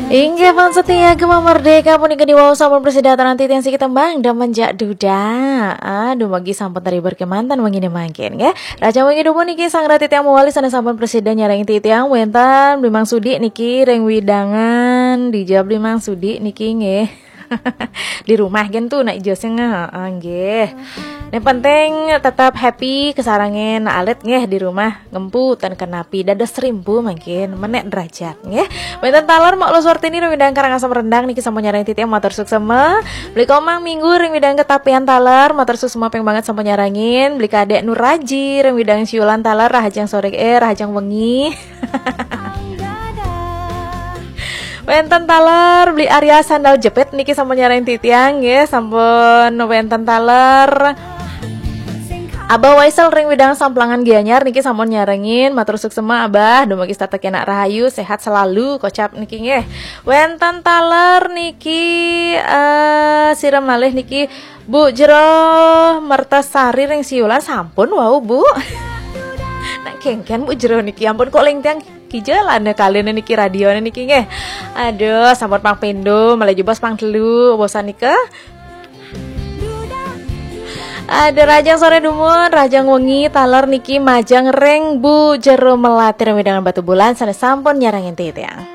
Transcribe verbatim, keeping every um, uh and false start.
Inggih, fans setia Gema Merdeka, puniki diwau sampun prasida aturang titiang siki tembang Demen Jak Duda. Aduh, magi sampun terhibur kemanten wengi mangkin, nggih. Rahajeng wengi dumun niki sareng titiang mawali sané sampun prasida nyarengin titiang, wénten Bli Mang Sudi niki ring wewidangan, dija Bli Mang Sudi niki, nggih. Di rumah kan tuh nak ijoseng, heeh, nggih. Yang penting tetap happy, kasarengin alit nggih di rumah. Ngempu ten kenapi dados rimpu mangkin menék derajat nggih. Wénten taler Mak Lo Suartini ring wewidangan Karangasem Rendang niki sampun nyarengin titiang, matur suksma. Bli Komang Minggu ring wewidangan Ketapian taler, matur suksma ping banget sampun nyarengin. Bli Kadék Nuraji ring wewidangan Siulan taler, rahajeng soré, eh, rahajeng wengi. Wénten taler Bli Arya Sandal Jepit niki sampun nyarengin titiang nggih, sampun wénten taler Abah Waisel ring wewidangan Samplangan Gianyar niki sampun nyarengin, matur suksma Abah, dumugi tetep kenak rahayu, sehat selalu, kocap niki nggih. Wénten taler niki, eh, sira malih niki Bu Jero Mertasari ring Siulan sampun wau, Bu. Nak kéngkén Bu Jero niki ampun kok ling tiang kija lana kalina niki radioné niki nggih. Aduh, sampun pang pindho, malih jebos pang telu, bosan nika. Ada rahajeng soré dumun, rahajeng wengi taler niki majeng ring Bu Jero Melati ring wewidangan Batubulan sané sampun nyarengin titiang.